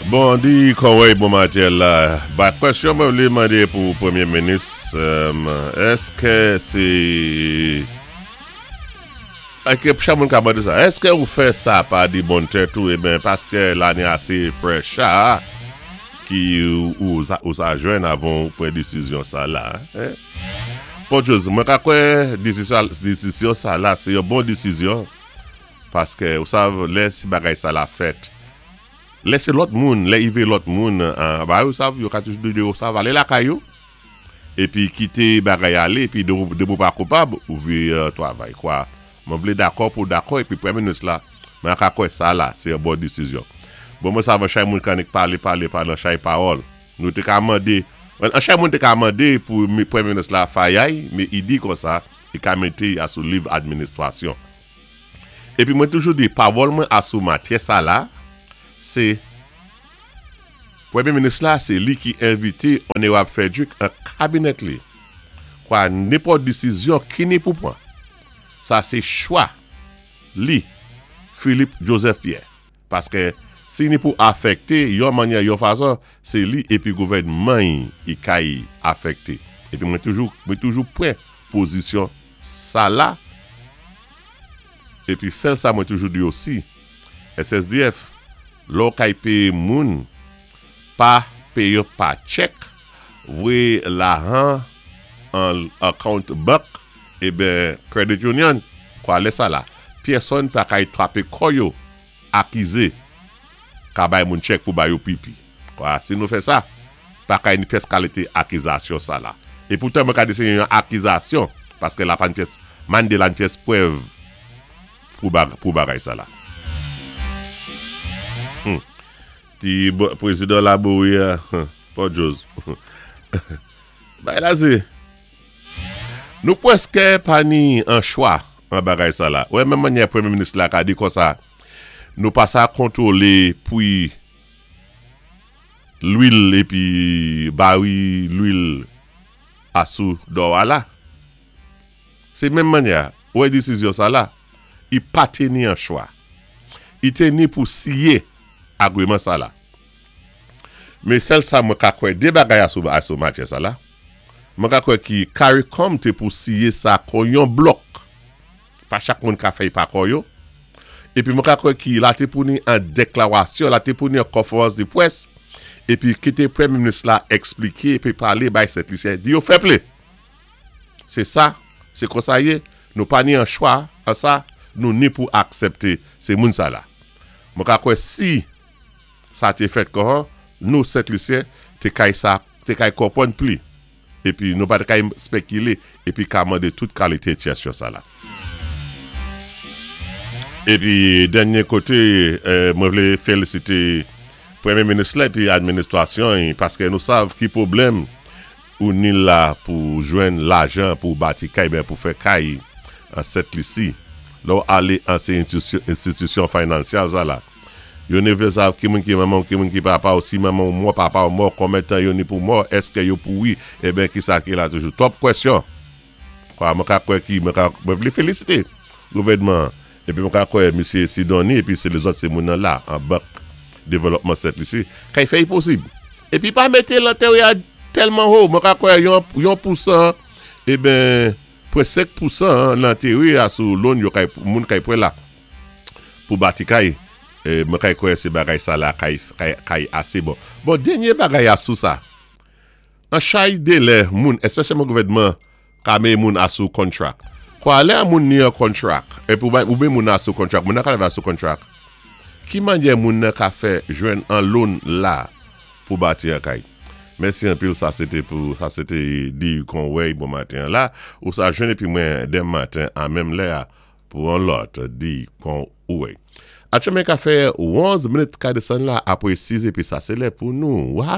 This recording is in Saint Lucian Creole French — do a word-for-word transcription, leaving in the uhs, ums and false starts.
Bon, di Conway bon maten la. Ba kwèsyon mwen vlé mandé pou Pwémyé Minis, èské sé èské chak moun ka mandé sa? Èské ou fè sa pa di bon tèt ou eben paské la ni asé pressure ki ou, ou sa jwenn avan ou pran désizyon sa la? Eh? Bon jòz, mwen ka kwè désizyon sa la, sé yon bon désizyon paské ou sav lè si bagay sa la fèt. Lè sé lòt moun, lè i vé lòt moun, ba ou sav, yo ka toujou di yo sav alé lakay yo, épi kité bagay alé, épi de ou pa koupab, ou vi travay, kwa. Mwen vlé dakò pou dakò, épi Pwémyé Minis la, mwen ka kwè sa la, sé yon bon désizyon. Bon, mwen sav an chay moun kanik palé, palé, palé, an chay pawòl. Nou té ka mandé, an chay moun té ka mandé pou Pwémyé Minis la fayay, mé i di konsa, i ka mété asou liv administwasyon. Épi mwen toujou di, pawòl mwen asou matyè sa la, sé Pwémyé Minis la, sé li ki envité Onorab Frederick an kabinèt li. Kwa nenpòt désizyon ki ni pou pran. Sa sé chwa li, Philippe Joseph Pierre. Paské si ni pou afèkté yon manyè yon fason, sé li épi gouvèdman i kay afèkté. Épi mwen toujou, mwen toujou pran pozisyon sa la. Épi sèl sa mwen toujou di osi, S S D F, lò kay péyé moun, pa péyé pa chèk, voyé lajan an account bank, eben credit union, kwa lè sa la. Pèsonn pa kay twapé kò yo, akizé, ka bay moun chèk pou bay yo pipi. Kwa si nou fè sa, pa kay ni pyès kalité akizasyon sa la. É poutan mwen ka di sé yon akizasyon, paské la pa ni pyès, mandé la ni pyès pwèv pou, bag, pou bagay sa la. Hmm. Ti prézidan Laboury, pa jòz. Bay la zé. Nou pwèské pa ni an chwa an bagay sa la. Wè, menm manyè Pwémyé Minis la ka di konsa, nou pa sa kontwolé pwi lwil épi bari lwil asou dò a la. Sé menm manyè, wè désizyon sa la, i pa té ni an chwa. I té ni pou siyé agreement sa la. Mé sèl sa mwen ka kwè dé bagay asou, asou matyè sa la. Mwen ka kwè ki CARICOM té pou siyé sa kon yon blòk. Pa chak moun ka fè pa kò yo. Épi mwen ka kwè ki la té pou ni an déklarasyon, la té pou ni an konférans de pwès, épi kité Pwémyé Minis la ekspliké, épi palé bay Sent Lisyen, di yo fè plé. Sé sa, sé konsa yé, nou pa ni an chwa, an sa, nou ni pou aksepté sé moun sa la. Mwen ka kwè si sa té fèt kon, nou Sent Lisyen, té kay sa, té kay konpwann pli. Épi nou pa té kay spekilé, épi ka mandé tout kalité kwèsyon sa la. Épi dènyé koté, euh, mwen vlé félisité Pwémyé Minis la épi administwasyon paské nou sav ki pwoblèm ou ni la pou jwenn lajan pou bati kay ben pou fè kay an Sent Lisi. Lò alé an sé enstitisyon finansyal sa la. Yo ni vlé sav ki moun ki manman, ki moun ki papa ou si manman ou mò, papa ou mò, konbyen tan yo ni pou mò, èské yo pouri, eben ki sa ki la toujou. Twòp kwèsyon. Kwa mwen ka kwè ki, mwen ka, mwen vlé félisité gouvèdman. Épi mwen ka kwè Misyé Sidoni, épi sé lézòt sé moun nan la, an bank dévelopman Sent Lisi, kay fè posib. Épi pa mété lentéwé a tèlman wo, mwen ka kwè yon, yon pousan, eben, pwen senk pousan lentéwé a sou loan yo kay, moun kay pran la, pou bati kay, e mwen kay kwè sé bagay sa la kay, kay, kay asé bon. Bon, dènyé bagay a sou sa, an chay délè moun, espesyalman gouvèdman, ka mé moun asou contract. Kwa lè a moun ni an contract, épi ou, ou mé moun asou contract, moun nan ka lèvé asou contract, ki manyè moun nan ka fè jwenn an loan la pou bati an kay? Mèsi anpil, sa sété pou, sa sété di Conway bon maten la, ou sa jwenn épi mwen denmen maten a menm lè a pou an lòt di Conway. Atchoumen ka fè onz minit ka désann la apwé sis épi sa sé lè pou nou. Wa